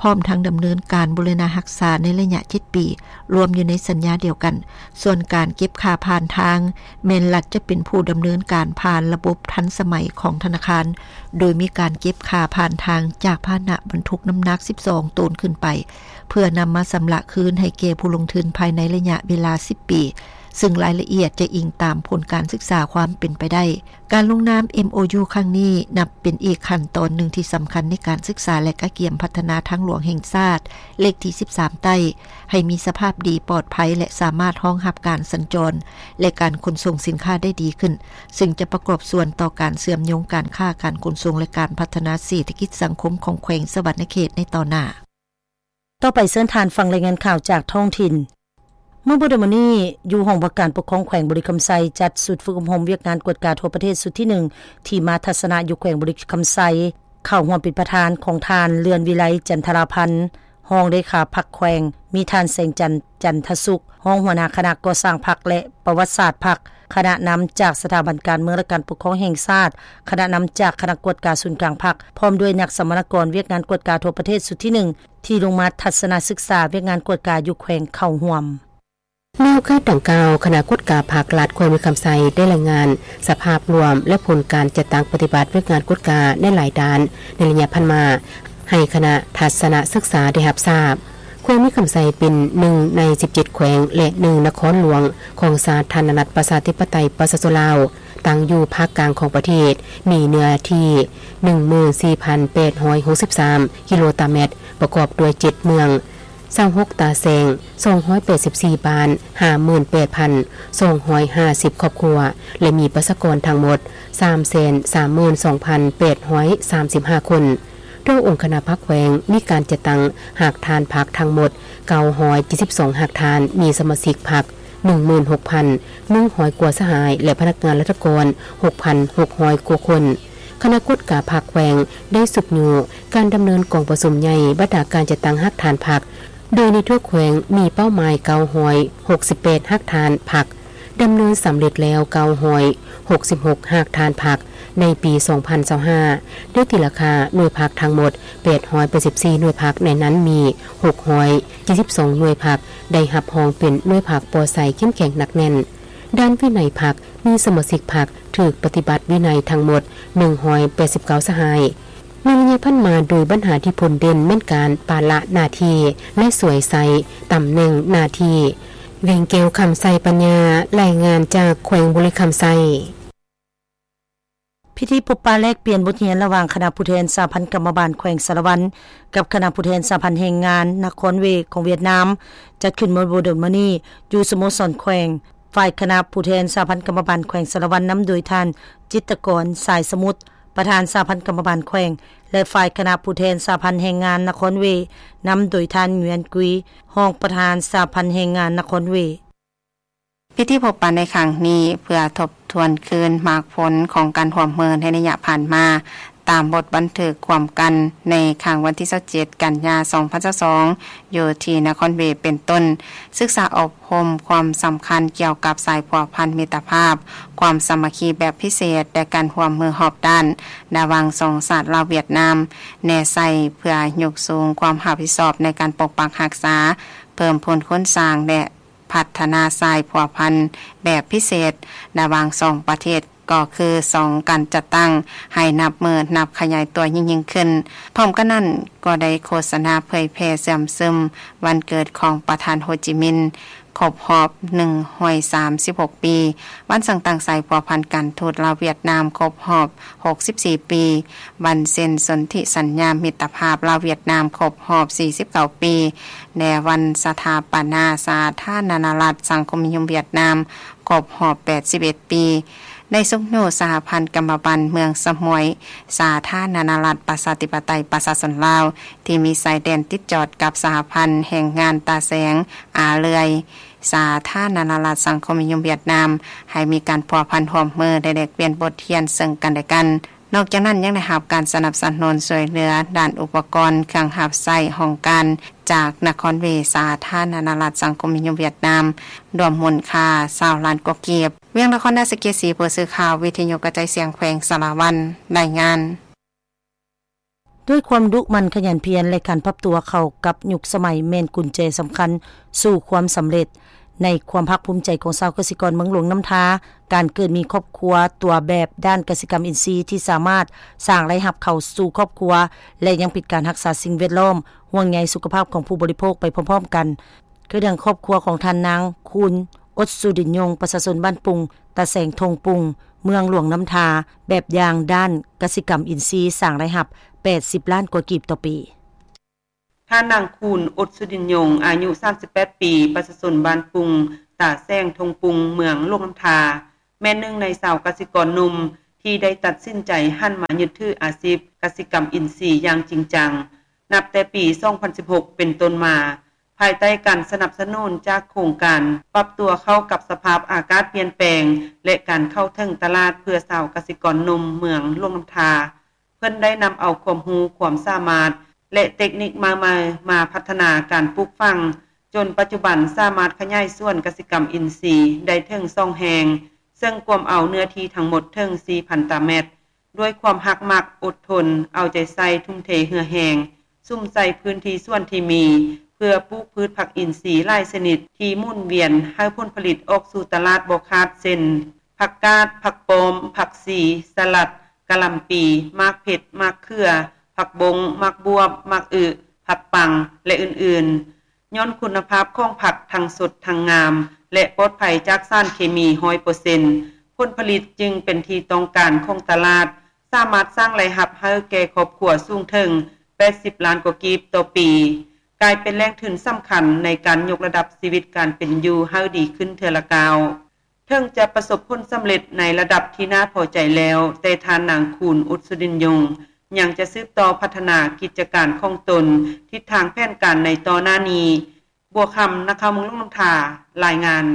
ພ້ອມທັງດຳເນີນການບູລະນະຮັກສາໃນໄລຍະເຈັດປີ, ລວມຢູ່ໃນສັນຍາດຽວກັນ. ສ່ວນການເກັບຄ່າຜ່ານທາງ ແມ່ນລັດຈະເປັນຜູ້ດຳເນີນການຜ່ານລະບົບທັນສະໄໝຂອງທະນາຄານ, ໂດຍມີການເກັບຄ່າຜ່ານທາງຈາກພາຫະນະບັນທຸກນ້ຳໜັກສິບສອງໂຕນຂຶ້ນໄປ, ເພື່ອນຳມາຊຳລະຄືນໃຫ້ແກ່ຜູ້ລົງທຶນພາຍໃນໄລຍະເວລາສິບປີ, ເຊິ່ງລາຍລະອຽດຈະອີງຕາມຜົນການສຶກສາຄວາມເປັນໄປໄດ້. ການລົງນາມ ເອັມໂອຢູ ຄັ້ງນີ້ ນັບເປັນອີກຂັ້ນຕອນໜຶ່ງທີ່ສຳຄັນໃນການສຶກສາ ແລະ ກະກຽມພັດທະນາທາງຫຼວງແຫ່ງຊາດ ເລກທີສິບສາມໃຕ້ ໃຫ້ມີສະພາບດີ, ປອດໄພ ແລະ ສາມາດຮອງຮັບການສັນຈອນ ແລະ ການຂົນສົ່ງສິນຄ້າໄດ້ດີຂຶ້ນ, ເຊິ່ງຈະປະກອບສ່ວນຕໍ່ການເຊື່ອມໂຍງການຄ້າ, ການຂົນສົ່ງ ແລະ ການພັດທະນາເສດຖະກິດສັງຄົມຂອງແຂວງສະຫວັນນະເຂດໃນຕໍ່ໜ້າ. ຕໍ່ໄປເຊີນທ່ານຟັງລາຍງານຂ່າວຈາກທ້ອງຖິ່ນ. ເມື່ອບໍ່ດົນມານີ້, ຢູ່ຫ້ອງວ່າການປົກຄອງແຂວງບໍລິຄຳໄຊ ຈັດຊຸດຝຶກອົບຮົມວຽກງານກວດກາທົ່ວປະເທດຊຸດທີໜຶ່ງ ທີ່ມາທັດສະນະຢູ່ແຂວງບໍລິຄຳໄຊ, ເຂົ້າຮ່ວມເປັນປະທານຂອງທ່ານ ເລື່ອນວິໄລ ຈັນທະລາພັນ ຮອງເລຂາພັກແຂວງ, ມີທ່ານ ແສງຈັນ ຈັນທະສຸກ ຮອງຫົວໜ້າຄະນະກໍ່ສ້າງພັກ ແລະ ປະຫວັດສາດພັກ, ຄະນະນຳຈາກສະຖາບັນການເມືອງ ແລະ ການປົກຄອງແຫ່ງຊາດ, ຄະນະນຳຈາກຄະນະກວດກາສູນກາງພັກ, ພ້ອມດ້ວຍນັກສຳມະນາກອນວຽກງານກວດກາທົ່ວປະເທດຊຸດທີໜຶ່ງ ທີ່ລົງມາທັດສະນະສຶກສາວຽກງານກວດກາຢູ່ແຂວງເຂົ້າຮ່ວມ. ໃນໂອກາດດັ່ງກ່າວ, ຄະນະກວດກາພັກລັດແຂວງບໍລິຄຳໄຊ ໄດ້ລາຍງານສະພາບລວມ ແລະ ຜົນການຈັດຕັ້ງປະຕິບັດວຽກງານກວດກາໃນຫຼາຍດ້ານໃນໄລຍະຜ່ານມາ ໃຫ້ຄະນະທັດສະນະສຶກສາໄດ້ຮັບຊາບ. ແຂວງບໍລິຄຳໄຊເປັນໜຶ່ງໃນສິບເຈັດແຂວງ ແລະ ໜຶ່ງນະຄອນຫຼວງຂອງສາທາລະນະລັດປະຊາທິປະໄຕປະຊາຊົນລາວ. ຕັ້ງຢູ່ພາກກາງຂອງປະເທດ, ມີເນື້ອທີ່ໜຶ່ງໝື່ນສີ່ພັນແປດຮ້ອຍຫົກສິບສາມກິໂລຕາແມັດ, ປະກອບດ້ວຍເຈັດເມືອງ, ຊາວຫົກຕາແຊງ, ສອງຮ້ອຍແປດສິບສີ່ບ້ານ, ຫ້າໝື່ນແປດພັນສອງຮ້ອຍຫ້າສິບຄອບຄົວ ແລະ ມີປະຊາກອນທັງໝົດສາມແສນສາມໝື່ນສອງພັນແປດຮ້ອຍສາມສິບຫ້າຄົນ. ໂດຍອົງຄະນະພັກແຂວງມີການຈັດຕັ້ງຮາກຖານພັກທັງໝົດເກົ້າຮ້ອຍເຈັດສິບສອງຮາກຖານ, ມີສະມາຊິກພັກໜຶ່ງໝື່ນຫົກພັນໜຶ່ງຮ້ອຍກວ່າສະຫາຍ ແລະ ພະນັກງານລັດຖະກອນຫົກພັນຫົກຮ້ອຍກວ່າຄົນ. ຄະນະກວດກາພັກແຂວງໄດ້ຊຸກຍູ້ການດຳເນີນກອງປະຊຸມໃຫຍ່ບັນດາການຈັດຕັ້ງຮາກຖານພັກ, ໂດຍໃນທົ່ວແຂວງມີເປົ້າໝາຍເກົ້າຮ້ອຍຫົກສິບແປດຮາກຖານພັກ, ດຳເນີນສຳເລັດແລ້ວເກົ້າຮ້ອຍຫົກສິບຫົກຮາກຖານພັກໃນປີສອງພັນຊາວຫ້າ, ໄດ້ຕີລາຄາໜ່ວຍພັກທັງໝົດແປດຮ້ອຍແປດສິບສີ່ໜ່ວຍພັກ, ໃນນັ້ນມີຫົກຮ້ອຍເຈັດສິບສອງໜ່ວຍພັກໄດ້ຮັບຮອງເປັນໜ່ວຍພັກປອດໃສ ເຂັ້ມແຂງ ໜັກແໜ້ນ. ດ້ານວິໄນພັກ ມີສະມາຊິກພັກຖືກປະຕິບັດວິໄນທັງໝົດໜຶ່ງຮ້ອຍແປດສິບເກົ້າສະຫາຍ. ໃນໄລຍະຜ່ານມາ, ໂດຍບັນຫາທີ່ພົ້ນເດັ່ນແມ່ນການປະລະໜ້າທີ່ ແລະ ສວຍໃຊ້ຕຳແໜ່ງໜ້າທີ່. ແວງແກ້ວ ຄຳໄຊປັນຍາ, ລາຍງານຈາກແຂວງບໍລິຄຳໄຊ. ພິທີພົບປະແລກປ່ຽນບົດຮຽນລະຫວ່າງຄະນະຜູ້ແທນສະຫະພັນກຳມະບານແຂວງສາລະວັນ ກັບຄະນະຜູ້ແທນສະຫະພັນແຮງງານນະຄອນເວຂອງຫວຽດນາມ ຈັດຂຶ້ນເມື່ອບໍ່ດົນມານີ້ ຢູ່ສະໂມສອນແຂວງ. ຝ່າຍຄະນະຜູ້ແທນສະຫະພັນກຳມະບານແຂວງສາລະວັນ ນຳໂດຍທ່ານ ຈິດຕະກອນ ສາຍສະໝຸດ ປະທານສະຫະພັນກຳມະບານແຂວງ ແລະ ຝ່າຍຄະນະຜູ້ແທນສະຫະພັນແຮງງານນະຄອນເວ ນຳໂດຍທ່ານ ງວຽນກຸຍ ຮອງປະທານສະຫະພັນແຮງງານນະຄອນເວ. ພິທີພົບປະໃນຄັ້ງນີ້ ເພື່ອທົບທວນຄືນໝາກຜົນຂອງການຮ່ວມມືໃນໄລຍະຜ່ານມາ, ຕາມບົດບັນທຶກຮ່ວມກັນໃນຄັ້ງວັນທີຊາວເຈັດ ກັນຍາ ສອງພັນຊາວສອງ ຢູ່ທີ່ນະຄອນເວເປັນຕົ້ນ, ສຶກສາອົບຮົມຄວາມສຳຄັນກ່ຽວກັບສາຍພົວພັນມິດຕະພາບ, ຄວາມສາມັກຄີແບບພິເສດ ແລະ ການຮ່ວມມືຮອບດ້ານ ລະຫວ່າງສອງຊາດລາວ-ຫວຽດນາມ ແນໃສ່ເພື່ອຍົກສູງຄວາມຮັບຜິດຊອບໃນການປົກປັກຮັກສາ, ເພີ່ມພູນໂຄງສ້າງ ແລະ ພັດທະນາສາຍພົວພັນແບບພິເສດລະຫວ່າງສອງປະເທດ ກໍຄືສອງການຈັດຕັ້ງ ໃຫ້ນັບມື້ນັບຂະຫຍາຍຕົວຍິ່ງໆຂຶ້ນ. ພ້ອມກັນນັ້ນ ກໍໄດ້ໂຄສະນາເຜີຍແຜ່ເຊື່ອມຊຶມວັນເກີດຂອງປະທານໂຮຈິມິນ ຄົບຮອບໜຶ່ງຮ້ອຍສາມສິບຫົກປີ, ວັນສ້າງຕັ້ງສາຍພົວພັນການທູດລາວ-ຫວຽດນາມ ຄົບຮອບຫົກສິບສີ່ປີ, ວັນເຊັນສົນທິສັນຍາມິດຕະພາບລາວ-ຫວຽດນາມ ຄົບຮອບສີ່ສິບເກົ້າປີ ແລະ ວັນສະຖາປະນາສາທາລະນະລັດສັງຄົມນິຍົມຫວຽດນາມ ຄົບຮອບແປດສິບເອັດປີ. ໄດ້ຊຸກຍູ້ສະຫະພັນກຳມະບັນເມືອງສະໝວຍ ສາທາລະນະລັດປະຊາທິປະໄຕປະຊາຊົນລາວ ທີ່ມີຊາຍແດນຕິດຈອດກັບສະຫະພັນແຮງງານຕາແສງ ອາເລື່ອຍ ສາທາລະນະລັດສັງຄົມນິຍົມຫວຽດນາມ ໃຫ້ມີການພົວພັນຮ່ວມມື ແລະ ແລກປ່ຽນບົດຮຽນເຊິ່ງກັນແລະກັນ. ນອກຈາກນັ້ນ ຍັງໄດ້ຮັບການສະໜັບສະໜູນຊ່ວຍເຫຼືອດ້ານອຸປະກອນເຄື່ອງຮັບໃຊ້ຫ້ອງການ ຈາກນະຄອນເວ ສາທາລະນະລັດສັງຄົມນິຍົມຫວຽດນາມ ລວມມູນຄ່າຊາວລ້ານກວ່າກີບ. ວຽງນະຄອນ ນາສະເກດສີ, ຜູ້ສື່ຂ່າວວິທະຍຸກະຈາຍສຽງແຂວງສາລະວັນ ລາຍງານ. ດ້ວຍຄວາມດຸໝັ່ນຂະຫຍັນພຽນ ແລະ ການປັບຕົວເຂົ້າກັບຍຸກສະໄໝ ແມ່ນກຸນແຈສຳຄັນສູ່ຄວາມສຳເລັດ. ໃນຄວາມພາກພູມໃຈຂອງຊາວກະສິກອນເມືອງຫຼວງນ້ຳທາ, ການເກີດມີຄອບຄົວຕົວແບບດ້ານກະສິກຳອິນຊີທີ່ສາມາດສ້າງລາຍຮັບເຂົ້າສູ່ຄອບຄົວ ແລະ ຍັງເປັນການຮັກສາສິ່ງແວດລ້ອມ, ຫ່ວງໃຍສຸຂະພາບຂອງຜູ້ບໍລິໂພກໄປພ້ອມໆກັນ. ຄືດັ່ງຄອບຄົວຂອງທ່ານນາງ ຄູນ ອົດສຸດິນຍົງ, ປະຊາຊົນບ້ານປຸງ, ຕາແສງທົ່ງປຸງ, ເມືອງຫຼວງນ້ຳທາ, ແບບຢ່າງດ້ານກະສິກຳອິນຊີ ສ້າງລາຍຮັບແປດສິບລ້ານກວ່າກີບຕໍ່ປີ. ທ່ານນາງ ຄູນ ອົດສຸດິນຍົງ, ອາຍຸສາມສິບແປດປີ, ປະຊາຊົນບ້ານປຸງ, ຕາແສງທົ່ງປຸງ, ເມືອງຫຼວງນ້ຳທາ, ແມ່ນໜຶ່ງໃນຊາວກະສິກອນໜຸ່ມທີ່ໄດ້ຕັດສິນໃຈຫັນມາຍຶດຖືອາຊີບກະສິກຳອິນຊີຢ່າງຈິງຈັງ ນັບແຕ່ປີສອງພັນສິບຫົກເປັນຕົ້ນມາ, ພາຍໃຕ້ການສະໜັບສະໜູນຈາກໂຄງການປັບຕົວເຂົ້າກັບສະພາບອາກາດປ່ຽນແປງ ແລະ ການເຂົ້າເຖິງຕະຫຼາດເພື່ອຊາວກະສິກອນໜຸ່ມເມືອງຫຼວງນ້ຳທາ. ເພິ່ນໄດ້ນຳເອົາຄວາມຮູ້ຄວາມສາມາດ ແລະ ເຕັກນິກໃໝ່ໆມາພັດທະນາການປູກຝັງ, ຈົນປັດຈຸບັນສາມາດຂະຫຍາຍສວນກະສິກຳອິນຊີໄດ້ເຖິງສອງແຫ່ງ, ເຊິ່ງກວມເອົາເນື້ອທີ່ທັງໝົດເຖິງສີ່ພັນຕາແມັດ. ດ້ວຍຄວາມຮັກມັກ, ອົດທົນ, ເອົາໃຈໃສ່, ທຸ່ມເທເຫື່ອແຮງ, ສຸມໃສ່ພື້ນທີ່ສວນທີ່ມີ ເພື່ອປູກພືດຜັກອິນຊີຫຼາຍຊະນິດທີ່ໝູນວຽນໃຫ້ຜົນຜະລິດອອກສູ່ຕະຫຼາດບໍ່ຂາດ ເຊັ່ນ ຜັກກາດ, ຜັກປ້ອມ, ຜັກຊີ, ສະຫຼັດ, ກະຫຼ່ຳປີ, ໝາກເຜັດ, ໝາກເຂືອ, ຜັກບົ້ງ, ໝາກບວບ, ໝາກອຶ, ຜັກປັງ ແລະ ອື່ນໆ. ຍ້ອນຄຸນນະພາບຂອງຜັກທັງສົດທັງງາມ ແລະ ປອດໄພຈາກສານເຄມີຮ້ອຍເປີເຊັນ, ຜົ ຜົນຜະລິດຈຶ່ງເປັນທີ່ຕ້ອງການຂອງຕະຫຼາດ, ສາມາດສ້າງລາຍຮັບໃຫ້ແກ່ຄອບຄົວສູງເຖິງແປດສິບລ້ານກວ່າກີບຕໍ່ປີ, ກາຍເປັນແຫຼ່ງທຶນສຳຄັນໃນການຍົກລະດັບຊີວິດການເປັນຢູ່ໃຫ້ດີຂຶ້ນເທື່ອລະກ້າວ. ເຖິງຈະປະສົບຜົນສຳເລັດໃນລະດັບທີ່ໜ້າພໍໃຈແລ້ວ, ແຕ່ທ່ານນາງ ຄູນ ອຸດສຸດິນຍົງ ຍັງຈະສືບຕໍ່ພັດທະນາກິດຈະການຂອງຕົນ, ທິດທາງແຜນການໃນຕໍ່ໜ້ານີ້. ບົວຄຳ ນັກຂ່າວເມືອງຫຼວງນ້ຳທາ ລາຍງານ.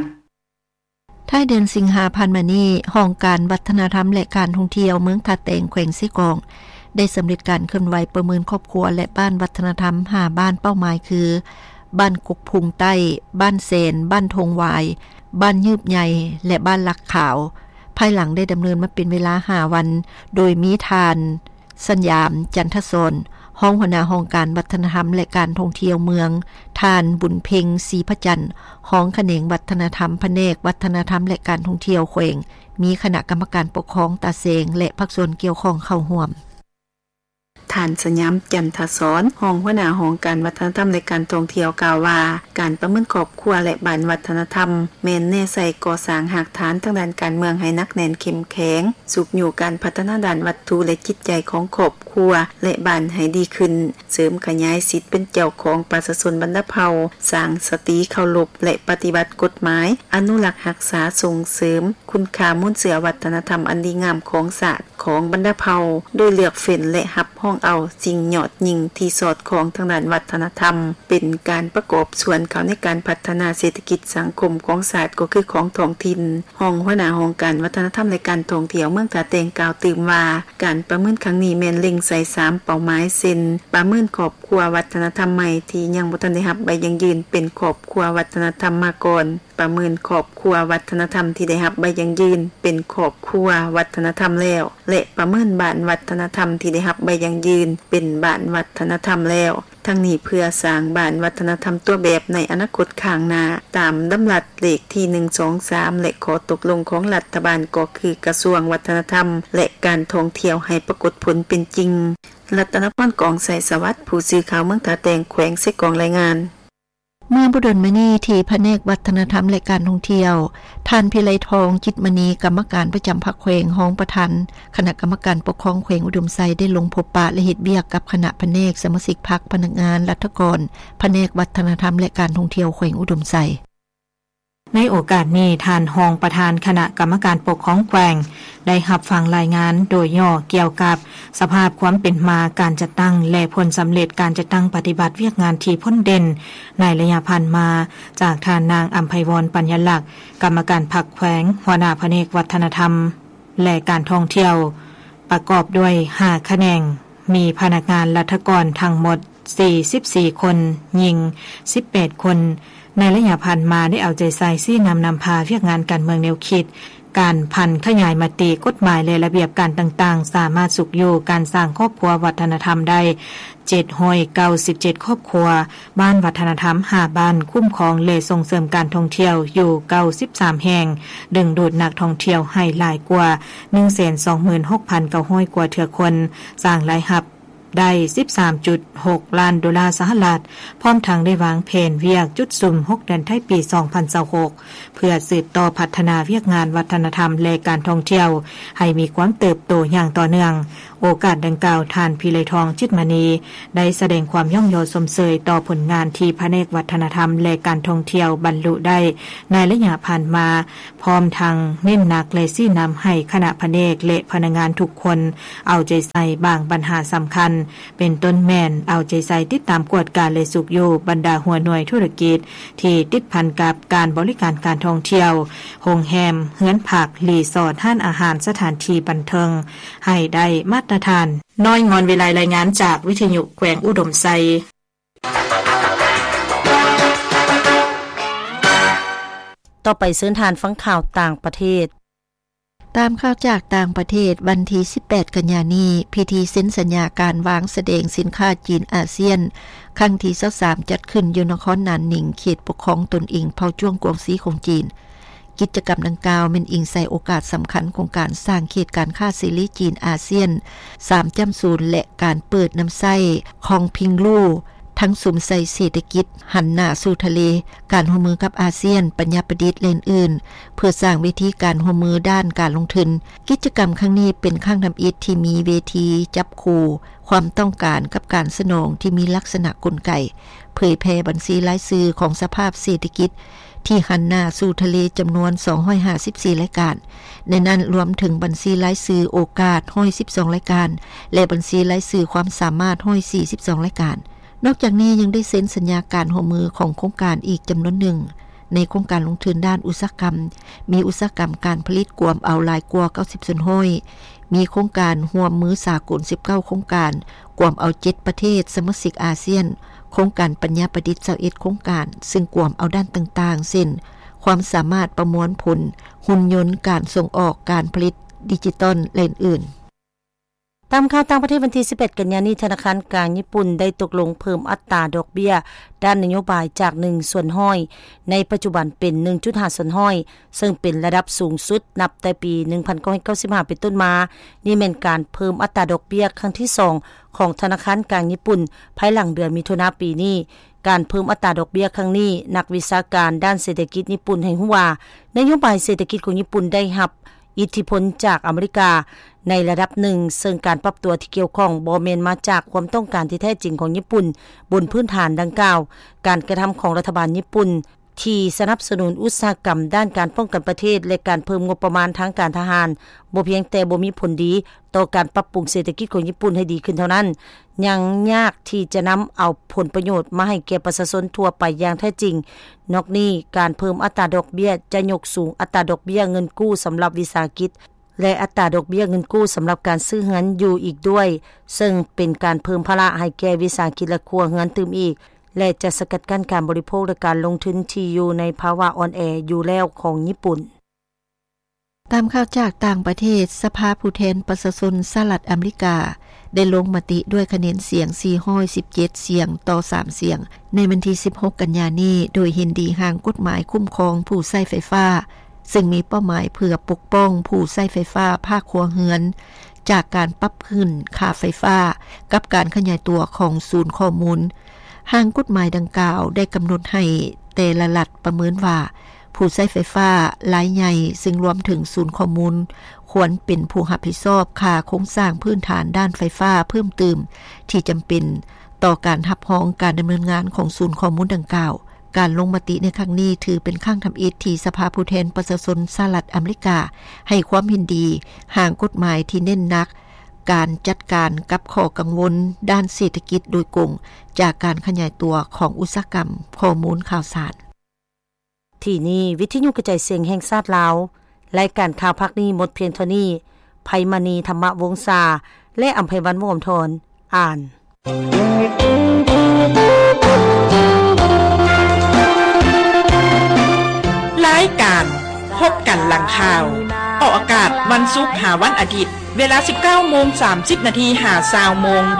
ທ້າຍເດືອນສິງຫາຜ່ານມານີ້, ຫ້ອງການວັດທະນະທຳ ແລະ ການທ່ອງທ່ຽວເມືອງທ່າແຕງ ແຂວງເຊກອງ ໄດ້ສຳເລັດການເຄື່ອນໄຫວປະເມີນຄອບຄົວ ແລະ ບ້ານວັດທະນະທຳ ຫ້າ ບ້ານເປົ້າໝາຍ ຄື ບ້ານກົກພຸງໃຕ້, ບ້ານແຊນ, ບ້ານທົ່ງຫວາຍ, ບ້ານຍືບໃຫຍ່ ແລະ ບ້ານຫຼັກຂາວ, ພາຍຫຼັງໄດ້ດຳເນີນມາເປັນເວລາ ຫ້າ ວັນ, ໂດຍມີທ່ານ ສັນຍາມ ຈັນທະສອນ, ຮອງຫົວໜ້າຫ້ອງການວັດທະນະທຳ ແລະ ການທ່ອງທ່ຽວເມືອງ, ທ່ານ ບຸນເພັງ ສີພະຈັນ, ຮອງຂະແໜງວັດທະນະທຳ ພະແນກວັດທະນະທຳ ແລະ ການທ່ອງທ່ຽວແຂວງ, ມີຄະນະກຳມະການປົກຄອງຕາແສງ ແລະ ພາກສ່ວນກ່ຽວຂ້ອງເຂົ້າຮ່ວມ. ທ່ານ ສັນຍາມ ຈັນທະສອນ, ຮອງຫົວໜ້າຫ້ອງການວັດທະນະທຳ ແລະ ການທ່ອງທ່ຽວ ກ່າວວ່າ ການປະເມີນຄອບຄົວ ແລະ ບ້ານວັດທະນະທຳ ແມ່ນແນໃສ່ກໍ່ສ້າງຮາກຖານທາງດ້ານການເມືອງໃຫ້ໜັກແໜ້ນເຂັ້ມແຂງ, ຊຸກຍູ້ການພັດທະນາດ້ານວັດຖຸ ແລະ ຈິດໃຈຂອງຄອບຄົວ ແລະ ບ້ານໃຫ້ດີຂຶ້ນ, ເສີມຂະຫຍາຍສິດເປັນເຈົ້າຂອງປະຊາຊົນບັນດາເຜົ່າ, ສ້າງສະຕິເຄົາລົບ ແລະ ປະຕິບັດກົດໝາຍ, ອະນຸລັກຮັກສາ, ສົ່ງເສີມຄຸນຄ່າມູນເຊື້ອວັດທະນະທຳອັນດີງາມຂອງຊາດ ຂອງບັນດາເຜົ່າ, ໂດຍເລືອກເຟ້ນ ແລະ ຮັບຮອງເອົາສິ່ງຍອດຍິ່ງທີ່ສອດຄ່ອງທາງດ້ານວັດທະນະທຳ ເປັນການປະກອບສ່ວນເຂົ້າໃນການພັດທະນາເສດຖະກິດສັງຄົມຂອງຊາດ ກໍຄືຂອງທ້ອງຖິ່ນ. ຮອງຫົວໜ້າຫ້ອງການວັດທະນະທຳ ແລະ ການທ່ອງທ່ຽວເມືອງທ່າແຕງ ກ່າວຕື່ມວ່າ ການປະເມີນຄັ້ງນີ້ແມ່ນເລັງໃສ່ສາມເປົ້າໝາຍ ເຊັ່ນ ປະເມີນຄອບຄົວວັດທະນະທຳໃໝ່ທີ່ຍັງບໍ່ທັນໄດ້ຮັບໃບຢັ້ງຢືນເປັນຄອບຄົວວັດທະນະທຳມາກ່ອນ, ປະເມີນຄອບຄົວວັດທະນະທຳທີ່ໄດ້ຮັບໃບຢັ້ງຢືນເປັນຄອບຄົວວັດທະນະທຳແລ້ວ ແລະ ປະເມີນບ້ານວັດທະນະທຳທີ່ໄດ້ຮັບໃບຢັ້ງຢືນເປັນບ້ານວັດທະນະທຳແລ້ວ. ທັງນີ້ເພື່ອສ້າງບ້ານວັດທະນະທຳຕົວແບບໃນອະນາຄົດຂ້າງໜ້າ ຕາມດຳລັດເລກທີໜຶ່ງສອງສາມ ແລະ ຂໍ້ຕົກລົງຂອງລັດຖະບານ ກໍຄືກະຊວງວັດທະນະທຳ ແລະ ການທ່ອງທ່ຽວ ໃຫ້ປາກົດຜົນເປັນຈິງ. ລັດຕະນະພອນ ກອງໄຊສະຫວັດ ຜູ້ສື່ຂ່າວເມືອງທ່າແຕງ ແຂວງເຊກອງ ລາຍງານ. ເມື່ອບໍ່ດົນມານີ້ ທີ່ພະແນກວັດທະນະທຳ ແລະ ການທ່ອງທ່ຽວ, ທ່ານ ພິໄລທອງ ຈິດມະນີ ກຳມະການປະຈຳພັກແຂວງ, ຮອງປະທານຄະນະກຳມະການປົກຄອງແຂວງອຸດົມໄຊ ໄດ້ລົງພົບປະ ແລະ ເຮັດວຽກກັບຄະນະພະແນກ, ສະມາຊິກພັກ, ພະນັກງານລັດຖະກອນ, ພະແນກວັດທະນະທຳ ແລະ ການທ່ອງທ່ຽວແຂວງອຸດົມໄຊ. ໃນໂອກາດນີ້, ທ່ານຮອງປະທານຄະນະກຳມະການປົກຄອງແຂວງ ໄດ້ຮັບຟັງລາຍງານໂດຍຫຍໍ້ກ່ຽວກັບສະພາບຄວາມເປັນມາການຈັດຕັ້ງ ແລະ ຜົນສຳເລັດການຈັດຕັ້ງປະຕິບັດວຽກງານທີ່ພົ້ນເດັ່ນໃນໄລຍະຜ່ານມາ ຈາກທ່ານນາງ ອຳໄພວອນ ປັນຍາລັກ ກຳມະການພັກແຂວງ, ຫົວໜ້າພະແນກວັດທະນະທຳ ແລະ ການທ່ອງທ່ຽວ ປະກອບດ້ວຍຫ້າຂະແໜງ, ມີພະນັກງານລັດຖະກອນທັງໝົດ ສີ່ສິບສີ່ຄົນ, ຍິງສິບແປດຄົນ. ໃນໄລຍະຜ່ານມາໄດ້ເອົາໃຈໃສ່ຊີ້ນຳນຳພາວຽກງານການເມືອງແນວຄິດ, ການຜັນຂະຫຍາຍມະຕິ, ກົດໝາຍ ແລະ ລະບຽບການຕ່າງໆ ສາມາດຊຸກຍູ້ການສ້າງຄອບຄົວວັດທະນະທຳໄດ້ ເຈັດຮ້ອຍເກົ້າສິບເຈັດຄອບຄົວ, ບ້ານວັດທະນະທຳຫ້າບ້ານ, ຄຸ້ມຄອງ ແລະ ສົ່ງເສີມການທ່ອງທ່ຽວຢູ່ເກົ້າສິບສາມແຫ່ງ, ດຶງດູດນັກທ່ອງທ່ຽວໃຫ້ຫຼາຍກວ່າ ໜຶ່ງແສນສອງໝື່ນຫົກພັນເກົ້າຮ້ອຍກວ່າເທື່ອຄົນ, ສ້າງລາຍຮັບ ໄດ້ສິບສາມຈຸດຫົກລ້ານໂດລາສະຫະລັດ, ພ້ອມທັງໄດ້ວາງແຜນວຽກຈຸດສຸມຫົກເດືອນທ້າຍປີສອງພັນຊາວຫົກ ເພື່ອສືບຕໍ່ພັດທະນາວຽກງານວັດທະນະທຳ ແລະ ການທ່ອງທ່ຽວໃຫ້ມີຄວາມເຕີບໂຕຢ່າງຕໍ່ເນື່ອງ. ໂອກາດດັ່ງກ່າວ, ທ່ານ ພິໄລທອງ ຈິດມະນີ ໄດ້ສະແດງຄວາມຍ້ອງຍໍຊົມເຊີຍຕໍ່ຜົນງານທີ່ພະແນກວັດທະນະທຳ ແລະ ການທ່ອງທ່ຽວບັນລຸໄດ້ໃນໄລຍະຜ່ານມາ, ພ້ອມທັງເນັ້ນໜັກ ແລະ ຊີ້ນຳໃຫ້ຄະນະພະແນກ ແລະ ພະນັກງານທຸກຄົນເອົາໃຈໃສ່ບາງບັນຫາສຳຄັນ, ເປັນຕົ້ນແມ່ນເອົາໃຈໃສ່ຕິດຕາມກວດກາ ແລະ ຊຸກຍູ້ບັນດາຫົວໜ່ວຍທຸລະກິດທີ່ຕິດພັນກັບການບໍລິການການທ່ອງທ່ຽວ, ໂຮງແຮມ, ເຮືອນພັກ, ຣີສອດ, ຮ້ານອາຫານ, ສະຖານທີ່ບັນເທີງ ໃຫ້ໄດ້ມາດຕະຖານ. ນ້ອຍງອນວິໄລ ລາຍງານຈາກວິທະຍຸແຂວງອຸດົມໄຊ. ຕໍ່ໄປເຊີນທ່ານຟັງຂ່າວຕ່າງປະເທດ. ຕາມຂ່າວຈາກຕ່າງປະເທດ, ວັນທີສິບແປດ ກັນຍານີ້, ພິທີເຊັນສັນຍາການວາງສະແດງສິນຄ້າຈີນອາຊຽນ ຄັ້ງທີຊາວສາມ ຈັດຂຶ້ນຢູ່ນະຄອນໜານໜິງ, ເຂດປົກຄອງຕົນເອງເຜົ່າຈວງກວາງຊີຂອງຈີນ. ກິດຈະກຳດັ່ງກ່າວແມ່ນອີງໃສ່ໂອກາດສຳຄັນຂອງການສ້າງເຂດການຄ້າເສລີຈີນອາຊຽນ ສາມຈຸດສູນ ແລະ ການເປີດນຳໃຊ້ Khongpinglu ທັງສຸມໃສ່ເສດຖະກິດ ຫັນໜ້າສູ່ທະເລ, ການຮ່ວມມືກັບອາຊຽນ, ປັນຍາປະດິດ ແລະ ອື່ນໆ ເພື່ອສ້າງເວທີການຮ່ວມມືດ້ານການລົງທຶນ. ກິດຈະກຳຄັ້ງນີ້ເປັນຄັ້ງທຳອິດທີ່ມີເວທີຈັບຄູ່ຄວາມຕ້ອງການກັບການສະໜອງທີ່ມີລັກສະນະກົນໄກ ເຜີຍແຜ່ບັນຊີລາຍຊື່ຂອງສະພາບເສດຖະກິດທີ່ຫັນໜ້າສູ່ທະເລຈຳນວນສອງຮ້ອຍຫ້າສິບສີ່ລາຍການ, ໃນນັ້ນລວມເຖິງບັນຊີລາຍຊື່ໂອກາດຮ້ອຍສິບສອງລາຍການ ແລະ ບັນຊີລາຍຊື່ຄວາມສາມາດຮ້ອຍສີ່ສິບສອງລາຍການ. ນອກຈາກນີ້ຍັງໄດ້ເຊັນສັນຍາການຮ່ວມມືຂອງໂຄງການອີກຈຳນວນໜຶ່ງ ໃນໂຄງການລົງທຶນດ້ານອຸດສາຫະກຳ ມີອຸດສາຫະກຳການຜະລິດກວມເອົາຫຼາຍກວ່າເກົ້າສິບສ່ວນຮ້ອຍ, ມີໂຄງການຮ່ວມມືສາກົນສິບເກົ້າໂຄງການ ກວມເອົາເຈັດປະເທດສະມາຊິກອາຊຽນ, ໂຄງການປັນຍາປະດິດຊາວເອັດໂຄງການ ຊຶ່ງກວມເອົາດ້ານຕ່າງໆ ເຊັ່ນ ຄວາມສາມາດປະມວນຜົນ, ຫຸ່ນຍົນ, ການສົ່ງອອກ, ການຜະລິດດິຈິຕອນ ແລະ ອື່ນໆ. ຕາມຂ່າວຕ່າງປະເທດ, ວັນທີສິບແປດ ກັນຍານີ້ ທະນາຄານກາງຍີ່ປຸ່ນໄດ້ຕົກລົງເພີ່ມອັດຕາດອກເບ້ຍດ້ານນະໂຍບາຍຈາກໜຶ່ງສ່ວນຮ້ອຍ ໃນປັດຈຸບັນເປັນໜຶ່ງຈຸດຫ້າສ່ວນຮ້ອຍ ເຊິ່ງເປັນລະດັບສູງສຸດນັບແຕ່ປີໜຶ່ງພັນເກົ້າຮ້ອຍເກົ້າສິບຫ້າເປັນຕົ້ນມາ. ນີ້ແມ່ນການເພີ່ມອັດຕາດອກເບ້ຍຄັ້ງທີສອງຂອງທະນາຄານກາງຍີ່ປຸ່ນ ພາຍຫຼັງເດືອນມິຖຸນາປີນີ້. ການເພີ່ມອັດຕາດອກເບ້ຍຄັ້ງນີ້, ນັກວິຊາການດ້ານເສດຖະກິດຍີ່ປຸ່ນໃຫ້ຮູ້ວ່າ ນະໂຍບາຍເສດຖະກິດຂອງຍີ່ປຸ່ນໄດ້ຮັບ ອິດທິພົນຈາກອາເມລິກາໃນລະດັບໜຶ່ງ, ເຊິ່ງການປັບຕົວທີ່ກ່ຽວຂ້ອງບໍ່ແມ່ນມາຈາກຄວາມຕ້ອງການທີ່ແທ້ຈິງຂອງຍີ່ປຸ່ນບົນພື້ນຖານດັ່ງກ່າວ. ການກະທຳຂອງລັດຖະບານຍີ່ປຸ່ນທີ່ສະໜັບສະໜູນອຸດສາຫະກຳດ້ານການປ້ອງກັນປະເທດ ແລະ ການເພີ່ມງົບປະມານທາງການທະຫານ ບໍ່ພຽງແຕ່ບໍ່ມີຜົນດີຕໍ່ການປັບປຸງເສດຖະກິດຂອງຍີ່ປຸ່ນໃຫ້ດີຂຶ້ນເທົ່ານັ້ນ, ຍັງຍາກທີ່ຈະນຳເອົາຜົນປະໂຫຍດມາໃຫ້ແກ່ປະຊາຊົນທົ່ວໄປຢ່າງແທ້ຈິງ. ນອກນີ້, ການເພີ່ມອັດຕາດອກເບ້ຍຈະຍົກສູງອັດຕາດອກເບ້ຍເງິນກູ້ສຳລັບວິສາຫະກິດ ແລະ ອັດຕາດອກເບ້ຍເງິນກູ້ສຳລັບການຊື້ເຮືອນຢູ່ອີກດ້ວຍ, ເຊິ່ງເປັນການເພີ່ມພາລະໃຫ້ແກ່ວິສາຫະກິດ ແລະ ຄົວເຮືອນຕື່ມອີກ ແລະ ຈະສະກັດກັ້ນການບໍລິໂພກ ແລະ ການລົງທຶນທີ່ຢູ່ໃນພາວະອ່ອນແອຢູ່ແລ້ວຂອງຍີ່ປຸ່ນ. ຕາມຂ່າວຈາກຕ່າງປະເທດ, ສະພາຜູ້ແທນປະຊາຊົນສະຫະລັດອາເມລິກາ ໄດ້ລົງມະຕິດ້ວຍຄະແນນສຽງສີ່ຮ້ອຍສິບເຈັດສຽງຕໍ່ສາມສຽງ ໃນວັນທີສິບຫົກ ກັນຍານີ້ ໂດຍເຫັນດີຮ່າງກົດໝາຍຄຸ້ມຄອງຜູ້ໃຊ້ໄຟຟ້າ, ຊຶ່ງມີເປົ້າໝາຍເພື່ອປົກປ້ອງຜູ້ໃຊ້ໄຟຟ້າພາກຄົວເຮືອນ ຈາກການປັບຂຶ້ນຄ່າໄຟຟ້າ ກັບການຂະຫຍາຍຕົວຂອງສູນຂໍ້ມູນ. ຮ່າງກົດໝາຍດັ່ງກ່າວໄດ້ກຳນົດໃຫ້ແຕ່ລະລັດປະເມີນວ່າ ຜູ້ໃຊ້ໄຟຟ້າລາຍໃຫຍ່, ຊຶ່ງລວມເຖິງສູນຂໍ້ມູນ, ຄວນເປັນຜູ້ຮັບຜິດຊອບຄ່າໂຄງສ້າງພື້ນຖານດ້ານໄຟຟ້າເພີ່ມຕື່ມທີ່ຈຳເປັນຕໍ່ການຮັບຮອງການດຳເນີນງານຂອງສູນຂໍ້ມູນດັ່ງກ່າວ. ການລົງມະຕິໃນຄັ້ງນີ້ຖືເປັນຄັ້ງທຳອິດທີ່ສະພາຜູ້ແທນປະຊາຊົນສະຫະລັດອາເມລິກາໃຫ້ຄວາມເຫັນດີຮ່າງກົດໝາຍທີ່ເນັ້ນໜັກການຈັດການກັບຂໍ້ກັງວົນດ້ານເສດຖະກິດໂດຍກົງ ຈາກການຂະຫຍາຍຕົວຂອງອຸດສາຫະກຳຂໍ້ມູນຂ່າວສານ. ທີ່ນີ້ ວິທະຍຸກະຈາຍສຽງແຫ່ງຊາດລາວ. ລາຍການຂ່າວພາກນີ້ໝົດພຽງເທົ່ານີ້. ໄພມະນີ ທຳມະວົງສາ ແລະ ອຳໄພວັນ ວົງອຳທອນ ອ່ານ. ລາຍການພົບກັນຫຼັງຂ່າວ ອອກອາກາດວັນສຸກຫາວັນອາທິດ ເວລາສິບເກົ້າໂມງສາມສິບນາທີຫາຊາວໂມງ.